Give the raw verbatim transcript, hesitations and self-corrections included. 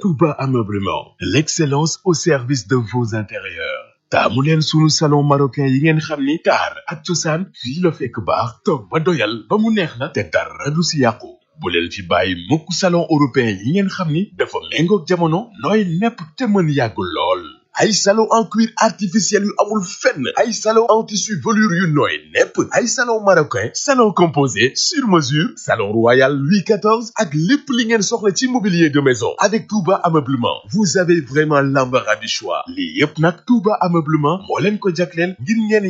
Touba Ameublement, l'excellence au service de vos intérieurs. taamu leen sunu salon marocain yi ngeen xam ni taar ak cosaan fii la fekk baax toog ba doyal ba mu neex la te dara du si yàqu bu leen fi bàyyi mukk salon européen yi ngeen xam ni dafa méngoog jamono nooy nepp te mën yàgg lool ay salon en cuir artificiel yu amul fenn ay salon en tissu velours yu nooy nepp ay salon marocain salon composé sur mesure salon royal Louis quatorze ak lépp li ngeen soxla ci mobilier de maison avec Touba Ameublement vous avez vraiment l'embarras du choix lii yépp nag Touba Ameublement moo leen ko jagleel ngir ngeen